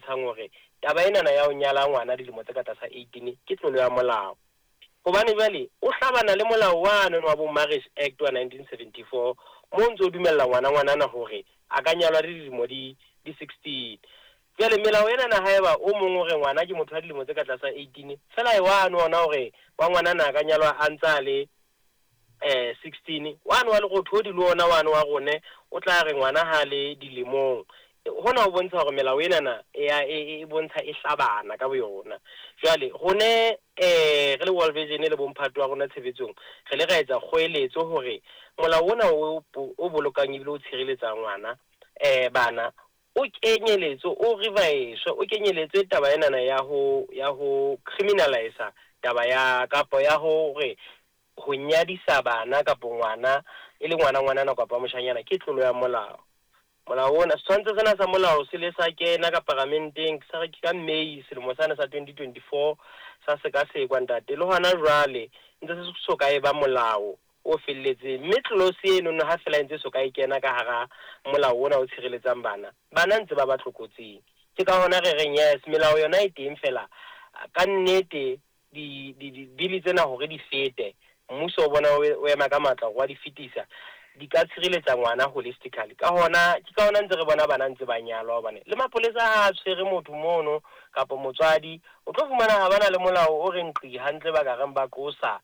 bontshang hore taba enana ya ho nyala ngwana dilemo tse ka tlasa 18 ke tlolo ya molao. Hobane jwale o hlabana le molao wane wa bo Marriage Act wa 1974 mo o ntso o dumella ngwana ngwanana hore a ka nyalwa le dilemo di di 16. Jwale melao enana haeba o mong o re ngwana ke motho wa dilemo tse ka tlasa 18, feela e wane ona hore wa ngwanana a ka nyalwa a ntsa le 16, wane wa Lerothodi le ona wane wa rone o tla re ngwana ha le dilemong. Hona ho bontsha hore melao enana e bontsha e hlabana ka boyona. Jwale rone re le World Vision le bomphato wa rona tshebetsong, re le ra etsa kgoeletso hore molao ona o bolokang ebile o tshireletsa ngwana bana o kenyeletswe, o reviswe, o kenyeletswe taba enana ya ho criminalize taba ya kapa ya hore ho nyadisa bana kapa ngwana e le ngwana ngwanana kapa moshanyana ke tlolo ya molao. Molao ona, setshwantsho sena sa molao se le sa kena ka paramenteng sa re ke ka May selemo sane sa 2024 sa sekasekwa ntate, le hona jwale ntse se so ka e ba molao o felletseng, mme tlolosi eno ha fela e ntse so ka e kena ka hara molao ona o tshireletsang bana, bana ntse ba ba tlokotsing. Ke ka hona re reng yes, melao yona e teng fela ka nnete di di tsena hore di fete, mmuso o bona o ema ka matla hore wa di fetisa, di ka tshireletsa ngwana holistically. Ka hona ke ka hona ntse re bona bana ntse ba nyalwa, hobane le mapolesa ha a tshwere motho mono kapa motswadi, o tlo fumana ha bana le molao o reng qi hantle ba ka reng ba qosa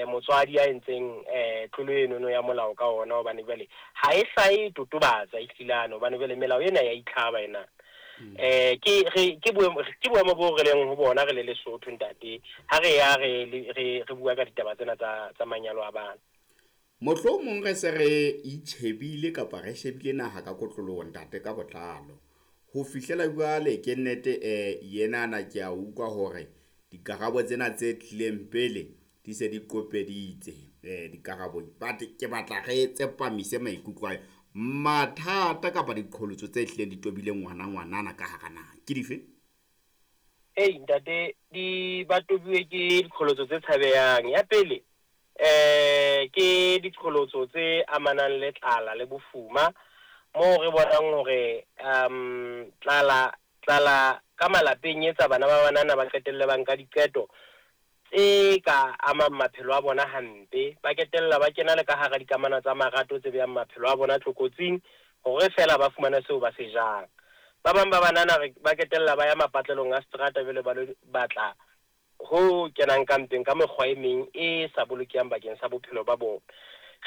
motswadi ya entseng tlolo enono ya molao ka ona, hobane jwale ha e hlahe totobatsa e hlilane, hobane jwale melao ena ya itlhaba ena. Ke boemo bo re leng ho bona re le Lesotho ntate, ha re ya re bua ka ditaba tsena tsa manyalo a bana. Mohlomong re se re itjhebile kapa re shebile naha ka kotloloho ntate ka botlalo. Ho fihlela jwale ke nnete yenana ke a utlwa hore dikarabo tsena tse tlileng pele di se di qopeditse dikarabo, but ke batla re tsepamise maikutlo a mathata kapa diqholotso tse tlileng di tobile ngwana ngwanana ka hara naha ke dife? Ei ntate, di ba tobiwe ke diqholotso tse tshabehang. Ya pele ke diqholotso tse amanang le tlala le bofuma, moo re bonang hore tlala ka malapeng etsa bana ba banana ba qetelle ba nka diqeto tse ka amang maphelo a bona hampe, ba ketella ba kena le ka hara dikamano tsa marato tse behang maphelo a bona tlokotsing hore fela ba fumane seo ba se jang. Ba bang ba banana ba ketella ba ya mapatlelong a seterata jwale ba lo batla ho kenang ka mpeng ka mekgwa e meng e sa bolokehang bakeng sa bophelo ba bona.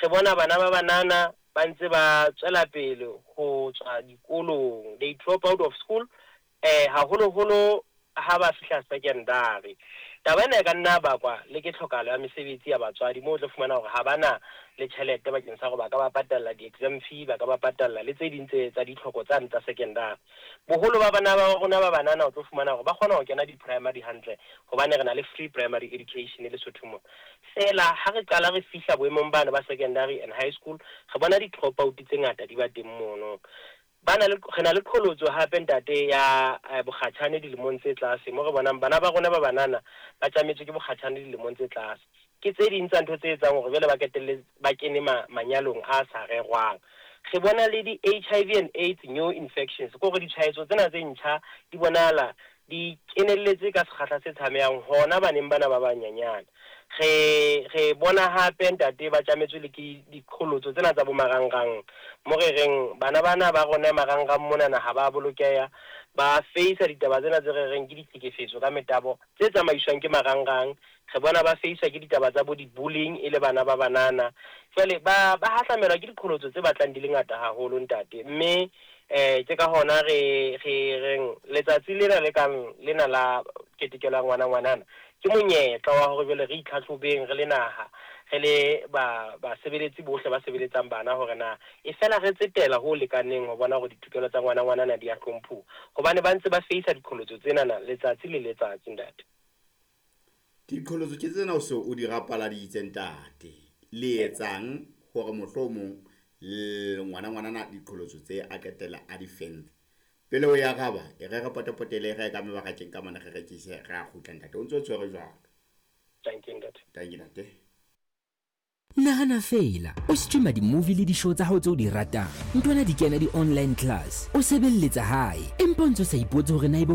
Re bona bana ba banana ba ntse ba tswela pele ho tswa dikolong, they drop out of school haholoholo ha ba fihla secondary. Taba ena e ka nna bakwa le ke tlhokahalo ya mesebetsi ya batswadi, moo o tlo fumana hore ha bana le tjhelete bakeng sa hore ba ka ba patalla di-exam fee, ba ka ba patalla le tse ding tse tsa ditlhoko tsane tsa secondary. Boholo ba bana ba rona ba banana o tlo fumana hore ba kgona ho kena di-primary hantle hobane re na le free primary education Lesotho mona. Feela ha re qala re fihla boemong bana ba secondary and high school, re bona di-drop out tse ngata di ba teng mono. Re na le qholotso hape ntate ya bokgatjhane dilemong tse tlase, mo re bonang bana ba rona ba banana ba tjametswe ke bokgatjhane dilemong tse tlase. Ke tse ding tsa ntho tse etsang hore jwale ba ketelle ba kene manyalong a sa rerwang. Re bona le di-HIV and AIDS new infections, ke hore ditshwaetso tsena tse ntjha di bonahala di kenelletse ka sekgahla se tshabehang hona baneng bana ba banyenyane. Re bona hape ntate ba tjametswe le ke diqholotso tsena tsa bo marangrang, mo re reng bana bana ba rona marangrang monana ha ba bolokeha, ba face ditaba tsena tse re reng ke ditlhekefetso ka metabo tse tsamaiswang ke marangrang. Re bona ba face ke ditaba tsa bo di-bullying e le bana ba banana. Jwale ba hahlamelwa ke diqholotso tse batlang di le ngata haholo ntate, mme ke ka hona re reng letsatsi lena le kang lena la ketekelo ya ngwana ngwanana ke monyetla wa hore jwale re itlhatlhobeng re le naha, re le basebeletsi bohle ba sebeletsang bana hore na e fela re tsetela ho lekaneng ho bona hore ditokelo tsa ngwana ngwanana di a hlomphuwa, hobane ba ntse ba face diqholotso tsenana letsatsi le letsatsi ntate. Diqholotso ke tsena o se o di rapaladitse ntate, le etsang hore mohlomong ngwana ngwanana diqholotso tse a qetella a di fentse? Pele o ya araba, e re re potepotele re ka mebarakeng ka mona re rekise, re a kgutla ntate. O ntso tshwere jwalo. Thank you ntate. Thank you ntate. Nahana feela, o streama di-movie le di-show tsa hao tseo di ratang, ntwana di kena di-online class, o sebelletsa hae, empa o ntso sa ipotse hore na ebe ho